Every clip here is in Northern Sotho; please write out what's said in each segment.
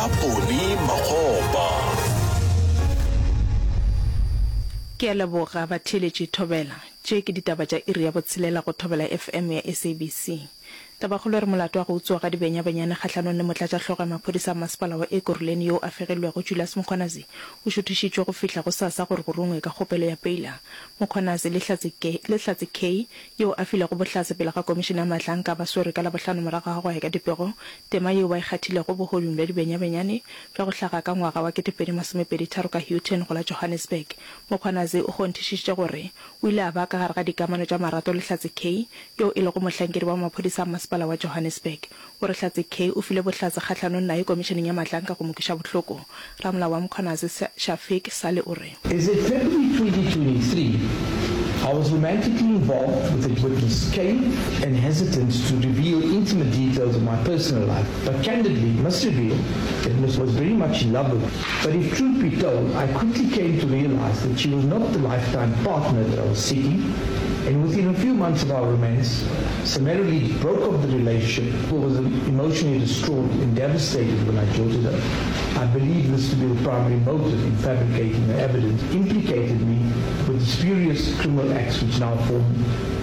Ka Ponny Makgopa. Ke a leboga batheeletši Thobela. Tše ke ditaba tša iri ya botshelela go Thobela FM ya SABC. Tabakgolo e re molato wa go utswa ga dibenyabenyane kgahlanong le motlatšahlogo ya maphodisa a masepala wa Ekurhuleni yoo a fegilwego Julius Mkhwanazi o šuthišitšwe go fihla gosasa gore go rungwe ka kgopelo ya peila. Mkhwanazi le Hlatse le Hlatse Kay yoo a filego bohlatse pele ga komišene ya Mahlanka ba swerwe ka Labohlano morago ga go ya ka dipego tema yeo ba e kgathilego bohodung bja dibenyabenyane bja go hlaga ka ngwaga wa 2023 ka Houghton go la Johannesburg. Mkhwanazi o kgonthišišitše gore o ile a ba ka gare ga dikamano tša marato le Hlatse Kay yoo e lego mohlankedi wa maphodisa a masepala wa Johannesburg. O re Hlatse Kay o file bohlatse kgahlanong naye komišeneng ya Mahlanka go mo kweša bohloko. Ramolao wa Mkhwanazi, Shafiq Salie o re. Is it February 2023, I was romantically involved with a witness Kay and hesitant to reveal intimate details of my personal life, but candidly must reveal that Ms was very much in love with me. But if truth be told, I quickly came to realize that she was not the lifetime partner that I was seeking, and within a few months of our romance, summarily broke off the relationship, was emotionally distraught and devastated when I jilted her. I believe this to be the primary motive in fabricating the evidence implicated me with the spurious criminal acts which now form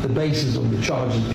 the basis of the charges.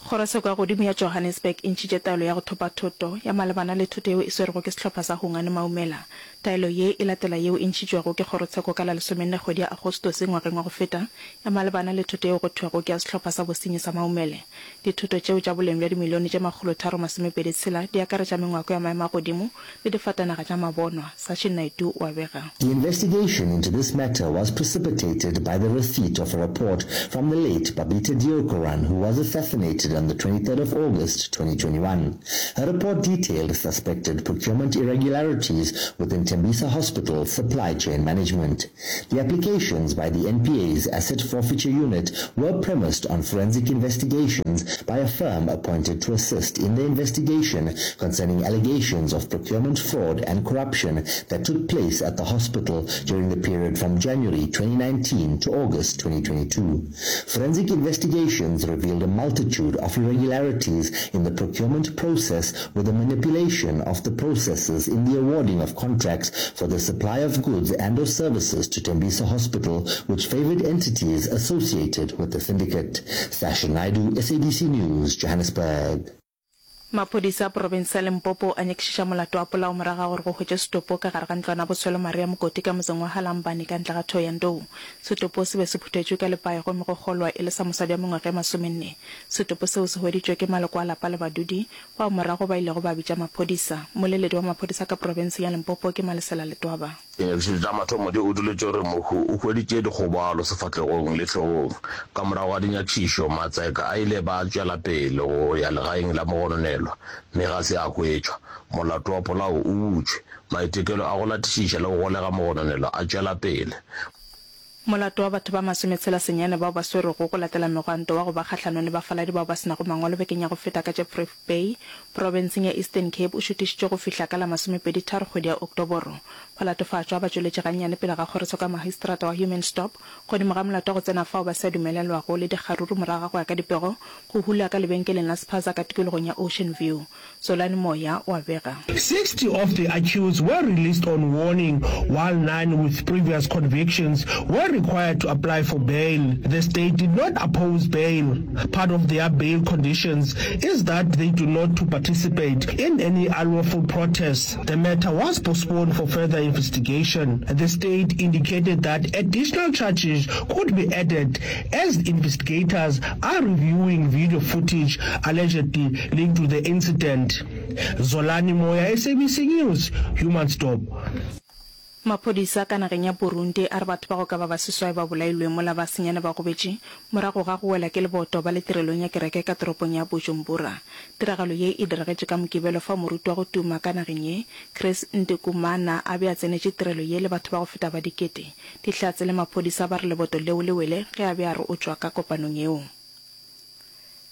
Kgorotsheko ya Godimo ya Johannesburg e ntšhitše taelo ya go thopa thoto ya malebana le thoto yeo e swerwego ke sehlopha sa Hungani Maumela. Taelo ye e latela yeo e ntšhitšwego ke kgorotsheko ka la lesomenne kgwedi ya Agostose ngwageng wa go feta ya malebana le thoto yeo go thwego ke ya sehlopha sa bosenyi sa Maumele. Dithoto tšeo tša boleng bja dimilione tše makgolotharo masomepedi tshela di akaretša mengwako ya maemo a godimo le difatanaga tša mabonwa, Sachin Naidu o a bega. The investigation into this matter was precipitated by the receipt of a report from the late Babita Deokaran who was assassinated on the 23rd of August 2021. Her report detailed suspected procurement irregularities within Tembisa Hospital's supply chain management. The applications by the NPA's Asset Forfeiture Unit were premised on forensic investigations by a firm appointed to assist in the investigation concerning allegations of procurement fraud and corruption that took place at the hospital during the period from January 2019 to August 2022. Forensic investigations revealed a multitude of irregularities in the procurement process with the manipulation of the processes in the awarding of contracts for the supply of goods and or services to Tembisa Hospital, which favored entities associated with the syndicate. Sasha Naidu, SABC News, Johannesburg. Maphodisa a profense ya Limpopo a nyakišiša molato wa polao morago ga gore go hwetšwe setopo ka gare ga ntlwana ya botshwelo Maria Mokoti ka motseng wa Halambani ka ntle ga Thohoyandou. Setopo se be se phuthetšwe ka lepae gomme go kgolwa e le sa mosadi wa mengwaga e masomenne. Setopo seo se hweditšwe ke maloko a lapa le badudi bao morago ba ilego ba bitša maphodisa. Mmoleledi wa maphodisa ka profenseng ya Limpopo ke Malesela Letwaba. Dinyakišišo tša mathomo di utolotše gore mohu o hweditše dikgobalo sefahlegong le hlogong. Ka morago ga dinyakišišo, matseka a ile ba tšwela pele go ya legaeng la mogononelwa mme ga se a hwetšwa. Molato wa polao o butšwe. Maitekelo a go latišiša le go golega mogononelwa a tšwela pele. Molato wa batho ba masometshela senyane bao ba swerwego go latela megwanto wa go ba kgahlanong le bafaladi bao ba se nago mangwalo bekeng ya go feta ka Jeffrey Bay, profenseng ya Eastern Cape o šuthišitšwe go fihla ka la masomepeditharo kgwedi ya Oktoboro. Balatofatšwa ba tšweletše gannyane pele ga kgorotsheko ya magistrata wa Humansdorp godimo ga molato wa go tsena fao ba sa dumelelwago le dikgaruru morago ga go ya ka dipego go hula ka lebenkeleng la spaza ka tikologong ya Ocean View. Zolani Moya o a bega. 60 of the accused were released on warning while nine with previous convictions were required to apply for bail. The state did not oppose bail. Part of their bail conditions is that they do not to participate in any unlawful protests. The matter was postponed for further investigation. The state indicated that additional charges could be added as investigators are reviewing video footage allegedly linked to the incident. Zolani Moya, SABC News, Humansdorp. Maphodisa ka nageng ya Burundi a re batho ba go ka ba ba seswai ba bolailwe mola ba senyane ba gobetše morago ga go wela ke leboto ba le tirelong ya kereke ka toropong ya Bujumbura. Tiragalo ye e diragetše ka Mokibelo fao moruti wa go tuma ka nageng ye, Chris Ndikumana a be a tsenetše tirelo ye le batho ba go feta ba dikete. Dihlatse le maphodisa ba re leboto leo le wele ge a be a re o tšwa ka kopanong yeo.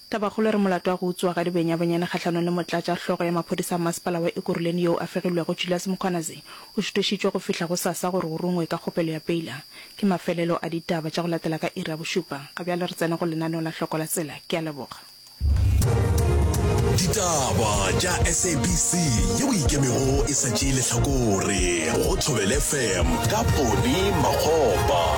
Tabakgolo e re molato wa go utswa ga dibenyabenyane kgahlanong le motlatša hlogo ya maphodisa a masepala wa Ekurhuleni yoo a fegilwego Julius Mkhwanazi o šuthišitšwe go fihla gosasa gore go rungwe ka kgopelo ya peila. Ke mafelelo a ditaba tša go latela ka iri ya bošupa. Ga bjale re tsena go lenaneo la Hloko la Tsela. Ke a leboga. Ditaba tša SABC yeo e ikemego e sa tšee lehlakore go Thobela FM ka Poni Makgopa.